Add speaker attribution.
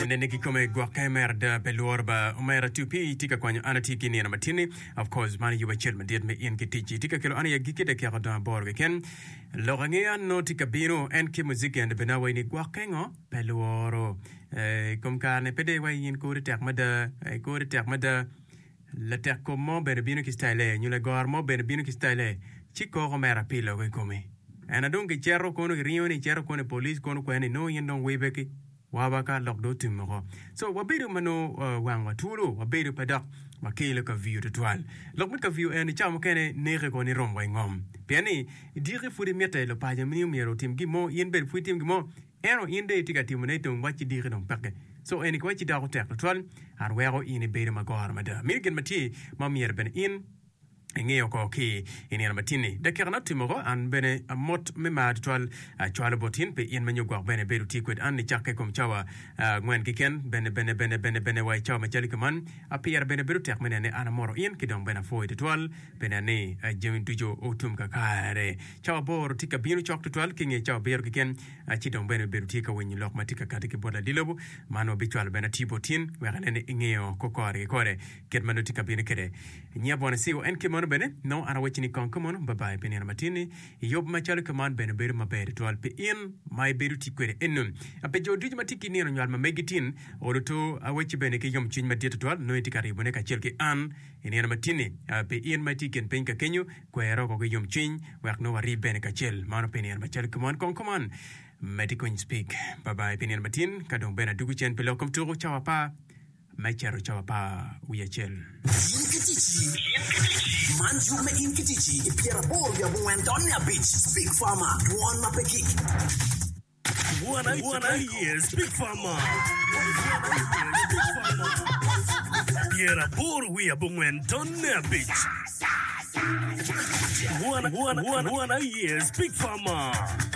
Speaker 1: Nene kikome gwokke mere ada pe lworo ba omera 2P tye ka kwanyo an atye ki nino matinni of course man yub acel madit me in ki ticci tye ka kelo an i agikki dakika odong aboro keken lok angeya nongo tye ka bino en ki muziki and bene awaci ni gwokke ngo pe lworo Eh, i kom kare ni pe dong iwaci in kori tek mada eh, kori tek mada latek kom mo bene bino ki style nyo lagoro mo bene bino ki style ci koko mere apilo i komi en adong kiceto kono kiringo ni icito kono i police kono kwene ni nongo in dong wibe ki Waba ka lok dong otum woko. So wabedo ma nongo wangwa twolo, wabedo pe dok wakelo kavio tutwal. Lok me kavio en i cawa mukene neke ko ni rom wa i ngom. Pien ni diki pud imite lupaco ni myero otim gin mo, in bene pud itim gin mo, ento in dong itye ka timone dong wacci diki dong peke. So eni ki wacci doko tek tutwal and weko in ibedo magoro mada. Meno gin ma tye ma myero bene in. Ingeyo ko ki i nino matin-ni, dakikana otimo ko, an bene amot me mar tutwal acwalo bot in pi in ma nyo gwok bene ibedo tye kwed an nicakke i kom cawa angwen keken, bene bene bene bene bene wa i cawa macalo ki man, pire bene bedo tek me neno ni an amoto in ki dong bene apwoyi tutwal pi neno ni jami ducu otum kakare. Cawa aboro tye ka bino cok tutwal ki nge cawa abiro keken, ci dong bene ibedo tye ka winyo lok ma tye ka kati ki bot ladit lobo man wabicwalo bene atiyo bot in wek inen ni ingeyo ko kore ki kore kit ma nongo tye ka bino kwede. Nyiya bwana Siu en kit meno bene, nongo an awacci ni kong kumono, babai pi nino matin-ni. Yub macalo kuman bene bedo maber tutwal pi in ma ibedo tye kwede eno. Pi jo ducu ma tye ki nino nywal ma megi tin, olo to awacci bene ki yomcwiny madit tutwal nongo itye ka ribone kacel ki an i nino matin-ni. Pi in ma itye i kin piny ka kenyo, kwer oko ki yomcwiny wek nongo warib bene kacel. Mano pi nino macalo kuman. Kong kuman, medde ki winyo Speak. Babai pi nino matin, ka dong bene adwogo cen pi lok kom tuko cawa apar. me cito cawa apar wiye acel.
Speaker 2: In ki ticci. Man yub me In ki ticci i pyeraboro wiye abongwen tonne abic. Speak Farmer, Dwon ma pe gik.
Speaker 3: Wan aye Speak Farmer. Pyeraboro wiye abongwen tonne abic. Wan aye Speak Farmer.